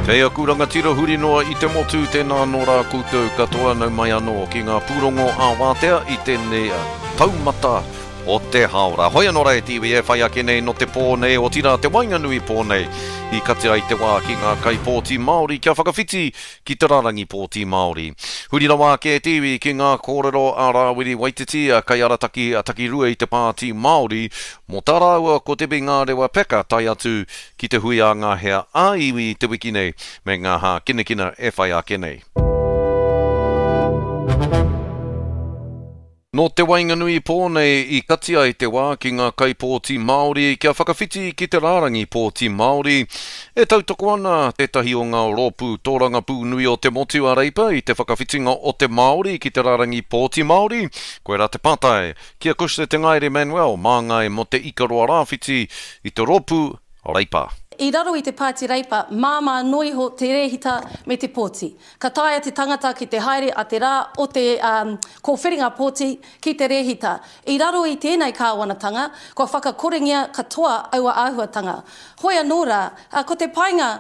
Kei aku rangatira huri noa i te motu, tēnā anō rā koutou katoa, nau mai anō ki ngā pūrongo ā-wātea i tēnei taumata o te hāora. Hoi anō rā e te iwi e whai ake nei nō te pō nei, otirā te waenganui pō nei, i kati ai te wā ki ngā kaipōti Māori kia whakawhiti ki te rārangi pōti Māori. Huri rawa ake e te iwi ki ngā kōrero a Rāwiri Waititi, kaiarataki takirua i te Pāti Māori, mō tā rāua ko Debbie Ngārewa Peka tae atu ki te hui a ngā hea ā-iwi i te wiki nei me ngā hākinakina e whai ake nei. Nō te waenganui pō nei i kati ai te wā ki ngā kaipōti Māori kia whakawhiti ki te rārangi pōti Māori. E tautoko ana tētahi o ngā rōpū tōrangapū nui o te motu a Reipa i te whakawhitinga o te Māori ki te rārangi pōti Māori? Koirā te pātai ki a Cushla Te Ngaere Manuel, māngai mō Te Ikaroa Rāwhiti i te rōpū Reipa. I raro i te Pāti Reipa, māmā noa iho te rēhita me te pōti. Ka taea te tangata ki te haere a te rā o te kōwhiringa pōti ki te rēhita. I raro i tēnei kāwanatanga, kua whakakorengia katoa aua āhuatanga. Hoi anō rā, ko te painga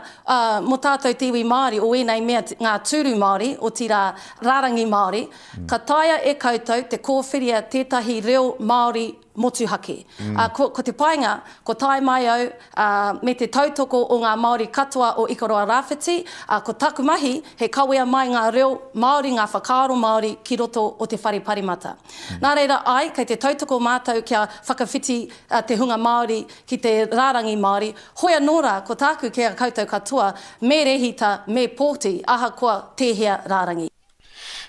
mō tātou te iwi Māori o ēnei mea ngā tūru Māori, otirā rārangi Māori, ka taea e koutou te kōwhiria tētahi reo Māori motuhake. Ā, ko, ko te painga, ko tae mai au, ā, me te tautoko o ngā Māori katoa o Ikaroa Rāwhiti, ā, ko taku mahi, he kawea mai ngā reo Māori, ngā whakaaro Māori ki roto o te Whare Paremata. Nā reira, āe, kei te tautoko mātou kia whakawhiti te hunga Māori ki te rārangi Māori, hoi anō rā, ko tāku ki a koutou katoa, me rehita, me pōti, ahakoa tēhea rārangi.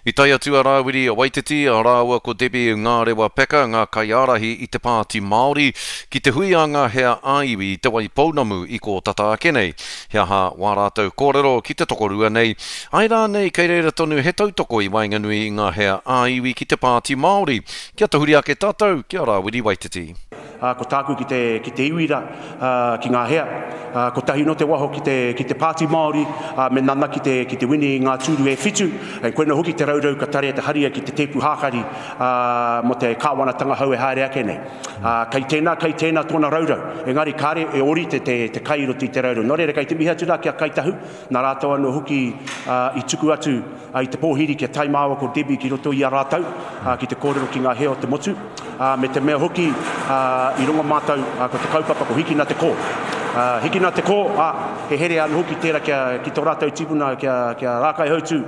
I tae atu a Rāwiri Waititi rāua ko Debbie Ngārewa Peka, ngā kaiārahi i te Pāti Māori, ki te hui a ngā hea ā-iwi i Te Waipounamu i kō tata ake nei. He aha wā rātou kōrero ki te tokorua nei? Āe rānei kei reira tonu he tautoko i waenganui i ngā hea ā-iwi ki te Pāti Māori? Kia tahuri ake tātou ki a Rāwiri Waititi. Ā, ko tāku ki te, ki te iwi rā, ā, ki ngā hea, ā, kotahi nō te waho ki te, ki te Pāti Māori, ā, me nana ki te, ki te wini i ngā tūru e whitu, ē, koina hoki te raurau ka tarea te haria ki te tēpu hākari, ā, mō te kāwanatanga hou e haere ake nei. Ā, kei tēnā, kei tēnā tōna raurau, engari kāre e ōrite te, te kai i roto i te raurau. Nō reira, kei te mihi atu rā ki a Kāi Tahu, nā rātou anō hoki, ā, i tuku atu, i te pōhiri kia tae māua ko Debbie ki roto i a rātou, ki te kōrero ki ngā hea o te motu, me te mea hoki i rongo mātou ko te kaupapa ko Hikina te Kō. Hikina te Kō, ā, he here anō hoki tērā kia, ki tō rātou tipuna kia, kia Rākaihautū.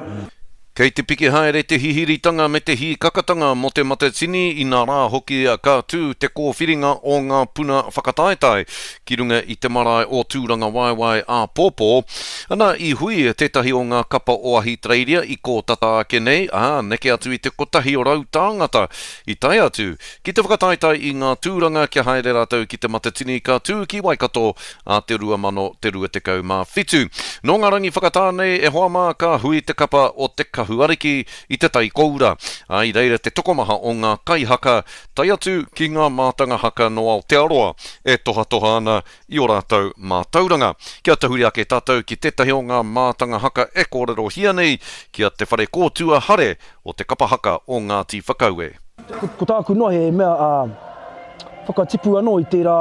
Kei te piki haere te hihiritanga me te hīkakatanga mō Te Matatini, inā rā hoki ka tū te kōwhiringa o ngā puna whakataetae ki runga i te marae o Tūrangawaewae āpōpō. Ana, i hui tētahi o ngā kapa o Ahitereiria i kō tata ake nei, ā, neke atu i te 100 tāngata i tae atu ki te whakataetae i ngā tūranga kia haere rātou ki Te Matatini ka tū ki Waikato ā te 2027. Nō ngā rangi whakatā nei e hoa mā ka hui te kapa o Te Kahu Ariki i Te Tai Koura, ā, i reira te tokomaha o ngā kaihaka tae atu ki ngā mātanga haka nō Aotearoa e tohatoha ana i ō rātou mātauranga. Kia tahuri ake tātou ki tētahi o ngā mātanga haka e kōrerohia nei, ki a Te Wharekōtua Hare o te kapa haka o Ngāti Whakaue. Ko tāku noa he mea whakatipu anō i tērā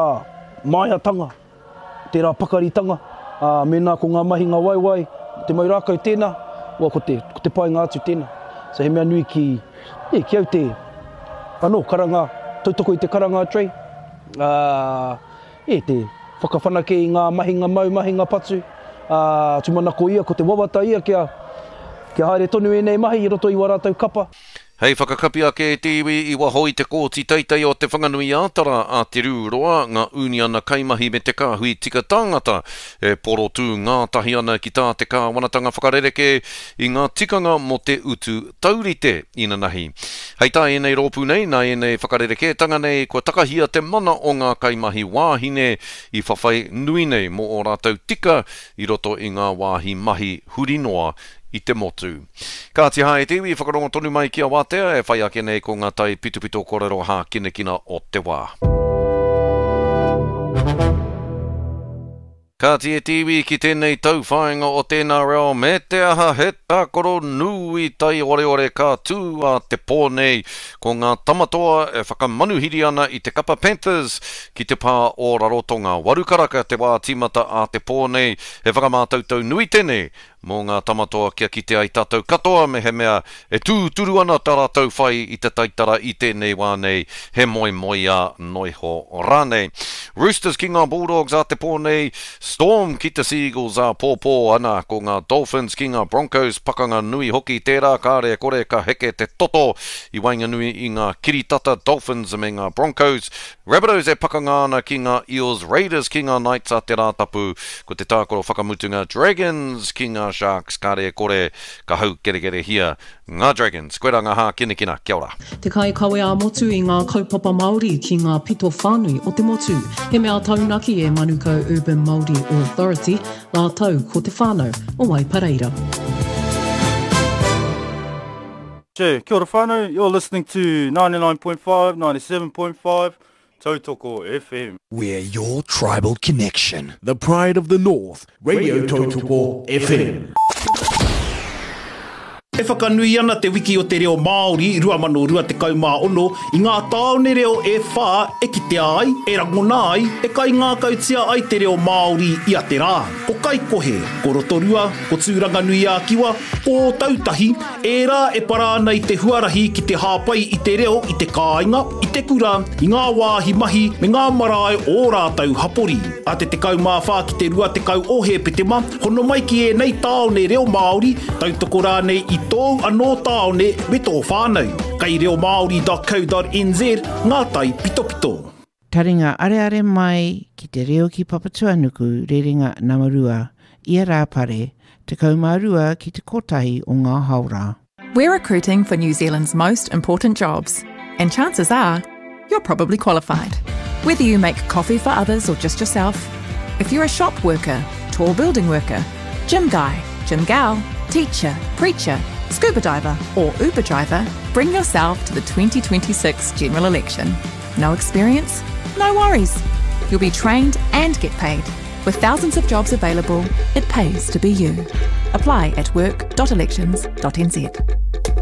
māiatanga tērā pakaritanga, ā, mēnā ko ngā mahinga waiwai, te mau rākau tēnā, ua ko te, ko te painga atu tēnā. So he mea nui ki, e, ki au te, anō, karanga, tautoko i te karanga a Trey, ā, e, te whakawhanake i ngā mahinga mau, mahinga patu, ā, tūmanako ia, ko te wawata ia kia, kia haere tonu ēnei mahi i roto i wā rātou kapa. Hei whakakapi ake i te iwi i waho i te Kōti Teitei o Te Whanganui-ā-Tara a Te Rū Roa, ngā ūniana kaimahi me te kāhui tika tāngata e porotū ngātahi ana ki tā te kāwanatanga whakarerekē i ngā tikanga mō te utu taurite inanahi. Hei tā ēnei rōpū nei, nā ēnei whakarerekētanga nei kua takahia te mana o ngā kaimahi wāhine i whawhai nui nei mō ō rātou tika i roto i ngā wāhi mahi huri noa i te motu. Kāti hā e te iwi, whakarongo tonu mai ki a Wātea e whai ake nei ko ngā tai pitopito korero hākinakina o te wā. Kāti e te iwi ki tēnei tauwhāinga o tēnā reo me te aha he tākaro nui taioreore ka tū a te pō nei ko ngā Tamatoa e whakamanuhiri ana i te kapa Panthers ki te pā o Rarotonga. Warukaraka te wā tīmata a te pō nei, he whakamātautau nui tēnei Mō ngā tamatoa kia kite ai tātou katoa mehemea e tūturu ana tā rātou whai i te taitara i tēnei wā nei, he moemoeā noiho rānei. Roosters ki ngā Bulldogs ā te pō nei, Storm ki te Seagulls āpōpō, ana ko ngā Dolphins ki ngā Broncos, pakanga nui hoki tērā, kāre e kore ka heke te toto i waenganui i ngā kiritata Dolphins me ngā Broncos. Rabbitohs e pakanga ana ki ngā Eels, Raiders ki ngā Knights a te Rātapu, ko te tākaro whakamutunga Dragons ki ngā Sharks, kāre e kore ka haukerekerehia ngā Dragons. Koirā ngā hākinakina, kia ora. Te kaikawe ā-motu i ngā kaupapa Māori ki ngā pito whānui o te motu. He mea taunaki e Manukau Urban Māori Authority rātou ko te whānau o Waipareira. Che, kia ora whānau, you're listening to 99.5, 97.5, Tautoko FM. We're your tribal connection. The pride of the north, Radio Tautoko FM. E whakanui ana Te Wiki o te Reo Māori 2026 i ngā tāone reo e whā e kitea ai, e rangona ai, e kaingākautia ai te reo Māori ia te rā. Ko Kaikohe, ko Rotorua, ko Tūranganui-ā-Kiwa, ko Ōtautahi, ērā e para ana i te huarahi ki te hāpai i te reo i te kāinga, i te kura, i ngā wāhi mahi me ngā marae o ō rātou hapori. A te 14 ki te 20 o Hēpetema, hono mai ki ēnei tāone reo Māori, tautoko rānei i tōu anō tāone me tō whānau. Kei reomāori.co.nz ngā taipitopito. Taringa areare mai ki te reo ki Papatuanuku rerenga nama rua, ia Rāpare, 12 ki te kotahi o ngā haora. We're recruiting for New Zealand's most important jobs, and chances are, you're probably qualified. Whether you make coffee for others or just yourself, if you're a shop worker, tall building worker, gym guy, gym gal, teacher, preacher, scuba diver, or Uber driver, bring yourself to the 2026 general election. No experience? No worries. You'll be trained and get paid. With thousands of jobs available, it pays to be you. Apply at work.elections.nz.